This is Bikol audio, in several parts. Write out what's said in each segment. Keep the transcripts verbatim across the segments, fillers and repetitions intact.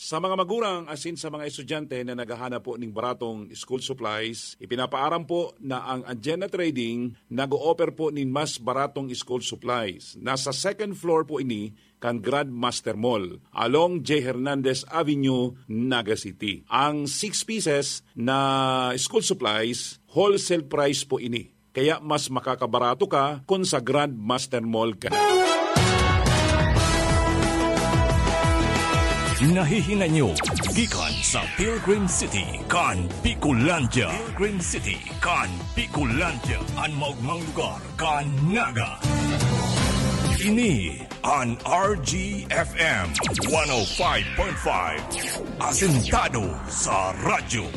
Sa mga magurang asin sa mga estudyante na naghahanap po ning baratong school supplies, ipinapaaram po na ang Agenda Trading nag-o-offer po nin mas baratong school supplies. Nasa second floor po ini kan Grandmaster Mall, along J Hernandez Avenue, Naga City. Ang six pieces na school supplies, wholesale price po ini. Kaya mas makakabarato ka kung sa Grandmaster Mall ka na. Nahihinay nyo gikan sa Pilgrim City kan Bicolandia. Pilgrim City kan Bicolandia, an maogmang lugar kan Naga. Ini an R G F M one oh five point five, asentado sa radyo.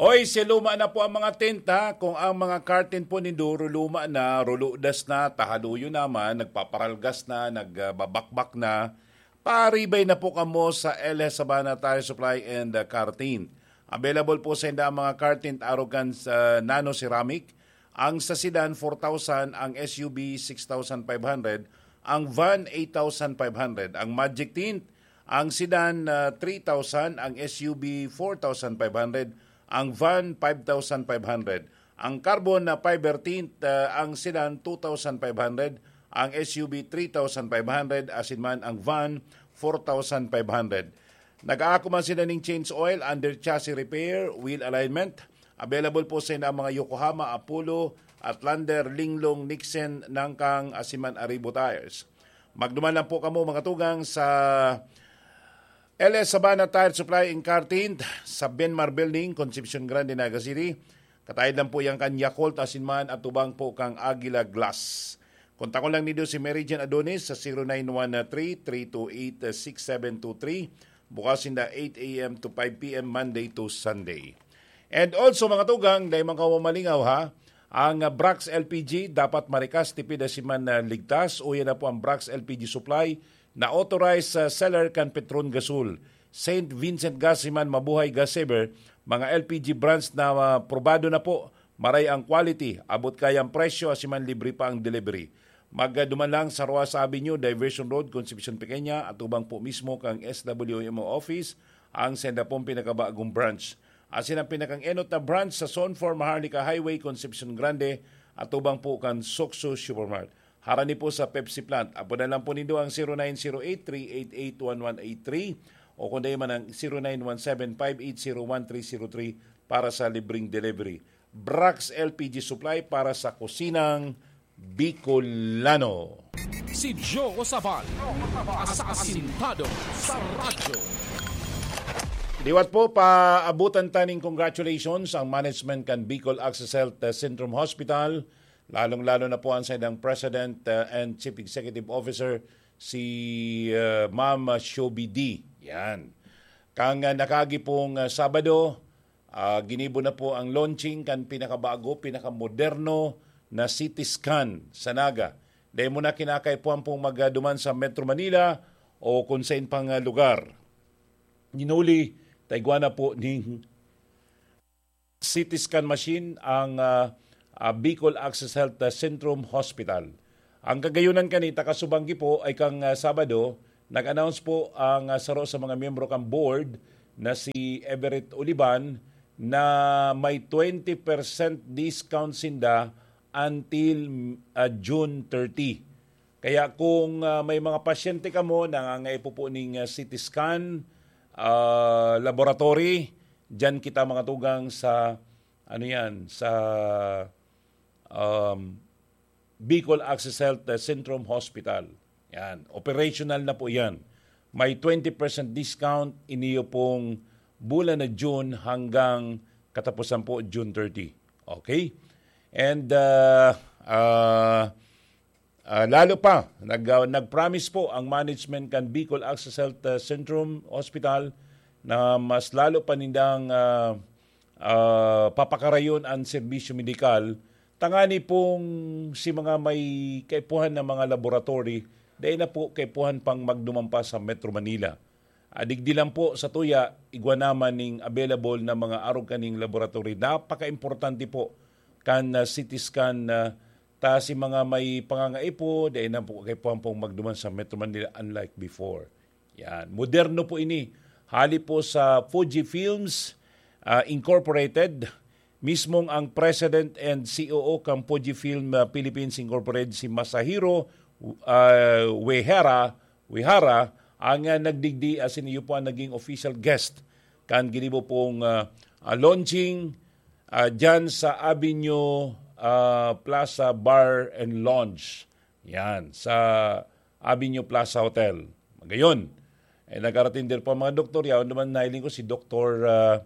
Oy, si luma na po ang mga tent, ha? Kung ang mga curtain po nindo, ruluma na, ruludas na, tahaluyo naman, nagpaparalgas na, nagbabakbak na, paribay na po kamo sa L S Sabana Tire Supply and, uh, Car Tint. Available po sa inda ang mga car tint arog kan sa Nano Ceramic, ang sa sedan four thousand, ang S U V six thousand five hundred, ang van eight thousand five hundred, ang Magic Tint, ang sedan, ah, three thousand, ang S U V four thousand five hundred, ang van five thousand five hundred. Ang carbon na fiber tint, ah, ang sedan two thousand five hundred, ang S U V three thousand five hundred, asin man ang van four thousand five hundred. Nag-aako man sila ning change oil, under chassis repair, wheel alignment. Available po sa inda ang mga Yokohama, Apollo, Outlander, Linglong, Nixon, Nangkang, asin man Arribo Tires. Magduman lang po kamo, mga tugang, sa L S Sabana Tire Supply and Car Tint sa Benmar Building, Concepcion Grande, Naga City. Kataid lang po yan kan Yakult, asin man atubang po kang Aguila Glass. Kontakon lang nindo si Mary Jane Adonis sa zero nine one three, three two eight, six seven two three. Bukas sinda eight a m to five p m, Monday to Sunday. And also, mga tugang, dai man kamo mamalingaw, ha? Ang, ah, Brax L P G dapat marikas, tipid asin man, ah, ligtas. Uya na po ang Brax L P G Supply na authorized, ah, seller kan Petron Gasol, Saint Vincent Gas asin man Mabuhay Gas Saver, mga L P G brands na, ah, probado na po, maray ang quality, abot kaya ang presyo, asin man libre pa ang delivery. Magduman lang sa Roas Avenue, Diversion Road, Concepcion Pequeña, atubang po mismo kang S W M O office, ang senda pong pinakabagong branch. Asin ang pinakang enot na branch sa Zone four Maharlika Highway, Concepcion Grande, atubang po kan Soxo Supermart. Harani po sa Pepsi plant. Apodan lang po nindo ang zero nine zero eight, three eight eight, one one eight three o kung dai man ang zero nine one seven, five eight zero, one three zero three para sa libreng delivery. Brax L P G Supply para sa kusinang Bicolano. Si Joe Sabal, sa Asintado sa Radyo. Liwat po, paabutan taning congratulations ang management kan Bicol Access Health, uh, Centrum Hospital, lalong-lalo na po ang saindang President, uh, and Chief Executive Officer, si, uh, Ma'am Shobi D. Yan. Kang, uh, nakaagi pong, uh, Sabado, ah, ginibo na po ang launching kan pinakabago, pinakamoderno na C T scan sa Naga. Dai mo na kinakaipuhan pong magduman sa Metro Manila o kung sain pang, ah, lugar. Hinuli, taigwa na po ning C T scan machine ang, ah, ah, Bicol Access Health, ah, Centrum Hospital. Ang kagayunan kani, takasubanggi po ay kang, ah, Sabado, nag-announce po ang, ah, saro sa mga miyembro kan board na si Everett Olivan na may twenty percent discount sinda until, ah, June thirty. Kaya kung, ah, may mga pasyente kamo na nangangaipo po ning, ah, C T scan, ah, laboratory, diyan kita mga tugang sa, ano yan, sa, um, Bicol Access Health, uh, Centrum Hospital. Yan, operational na po yan. May twenty percent discount iniyo pong bulan na June hanggang katapusan po June thirty. Okay? And, uh, uh, uh, lalo pa, nag, uh, nag-promise po ang management kan Bicol Access Health, uh, Centrum Hospital na mas lalo pa nindang, uh, ah, papakarayon an serbisyo medikal, tangani pong si mga may kaipuhan na mga laboratory, dai na po kaipuhan pang magduman pa sa Metro Manila. Ah, digdi lang po sa tuya, igwa naman ning available na mga arog kaning laboratory. Napaka-importante po kan, ah, C T scan, ah, Ta si mga may pangangaipo, dai na po kaipuhan pong magduman sa Metro Manila unlike before. Yan. Moderno po ini. Hali po sa Fuji Films, ah, Incorporated, mismong ang President and C O O kan Fuji Film, ah, Philippines Incorporated, si Masahiro, ah, Uehara, Uehara, ang, ah, nagdigdi asin iyo po ang naging official guest kan ginibo pong, ah, ah, launching, ah, dyan sa Avenue, ah, Plaza Bar and Lounge. Yan, sa Avenue Plaza Hotel. Magayon. Eh, nag-aratender po ang mga doktor. Yaon naman, nahiling ko si Doktor, ah,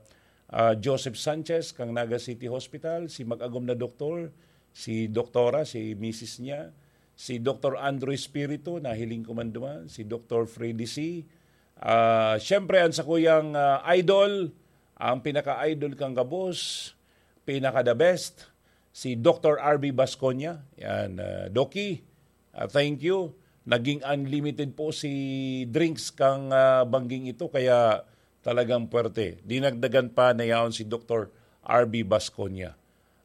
ah, Joseph Sanchez, kang Naga City Hospital, si mag-agom na doktor, si doktora, si misis niya, si Doktor Andrew Espiritu, nahiling ko man duman, si Doktor Freddy C. Ah, siyempre, ang sakuyang, ah, idol, ang pinaka-idol kang gabos, pinaka-the best, si Doktor R B Basconia. Yan, ah, Doki, ah, thank you. Naging unlimited po si drinks kang, ah, bangging ito, kaya talagang puwerte. Dinagdagan pa na yaon si Doktor R B Basconia.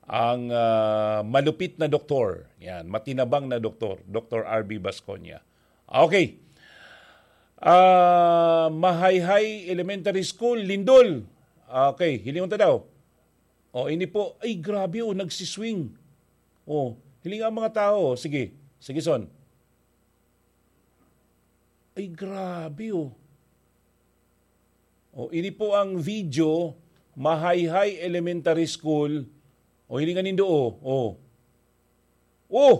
Ang, ah, malupit na doktor. Yan, matinabang na doktor, Doktor R B Basconia. Okay. Ah, Mahayhay Elementary School, lindol. Okay, hilingon ta daw. Oh, ini po, ay grabe oh, nagsiswing. Oh, hiling ang mga tao. Sige, sige, Son. Ay grabe oh. Oh, ini po ang video, Mahayhay Elementary School. Oh, hilingan nindo oh. Oh. Oh!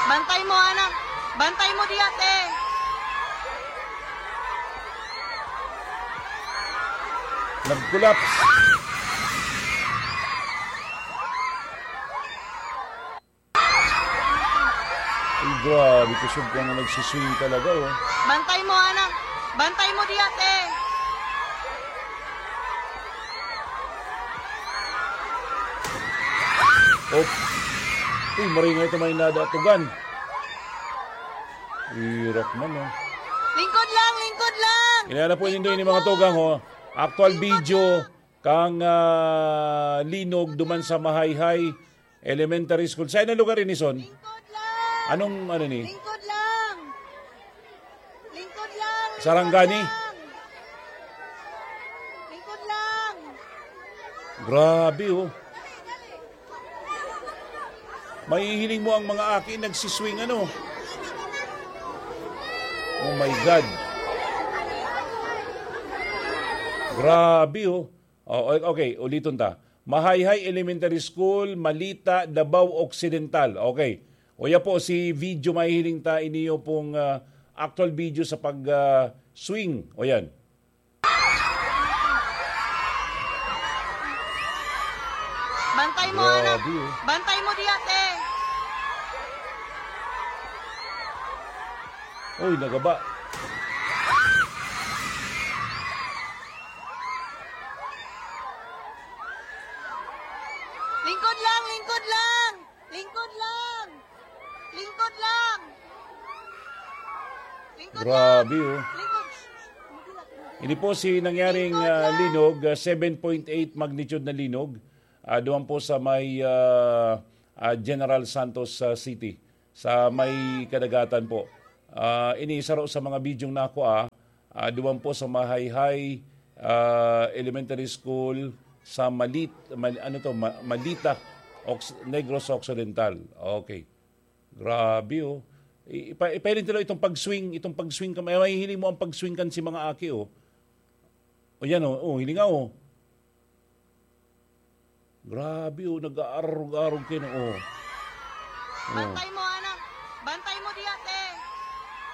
Bantay mo, anak. Bantay mo diya, te. Nag-collapse. Ay, grabe, kusog ka nga nagsiswing talaga, oh. Bantay mo, anak. Bantay mo diya, te. Oh. Uy, maringay ito may nadatugan. Irak man, oh. Lingkod lang, lingkod lang. Inana po nindo ini mga tugang, oh. Actual video kang, ah, linog duman sa Mahayhay Elementary School. Saan ang lugar ini, Son? Lingkod lang. Anong, ano ni? Lingkod lang. Lingkod lang. Sarangani? Lingkod lang. Lingkod lang. Grabe, oh. Mahihiling mo ang mga aki nagsiswing, ano? Oh my God. Grabe, oh. Oh, o-, okay, uliton ta. Mahayhay Elementary School, Malita, Davao Occidental. Okay. Uya po, si video mahihiling ta, iniyo pong, ah, actual video sa pag, ah, swing. O yan. Bantay mo, anak. Grabe, oh. Bantay mo diya, te. Uy, nagaba. Lingkod lang, lingkod lang. Lingkod lang. Lingkod lang. Lingkod Grabe, lang. Oh. Lingkod. Ini po si nangyaring, Lingkod ah, lang. Linog, ah, seven point eight magnitude na linog. Ah, duman po sa may, ah, ah, General Santos, ah, City, sa may kadagatan po. Ah, ini saro sa mga bidyong nakua, ah, duman po sa Mahayhay, ah, Elementary School sa Malit-, Mal-, ano to, Ma-, Malita, Ox-, Negros Occidental. Okay. Grabe, oh. I-, ipa-, ipahiling nila itong pag-swing, itong pag-swing ka, may mahihiling mo ang pag-swing kan si mga aki, oh. O yan, oh, oh, hilinga, oh. Grabe, oh, nag-aarog-arog kayo na, oh. Oh. Bantay mo, anak. Bantay mo diya, te.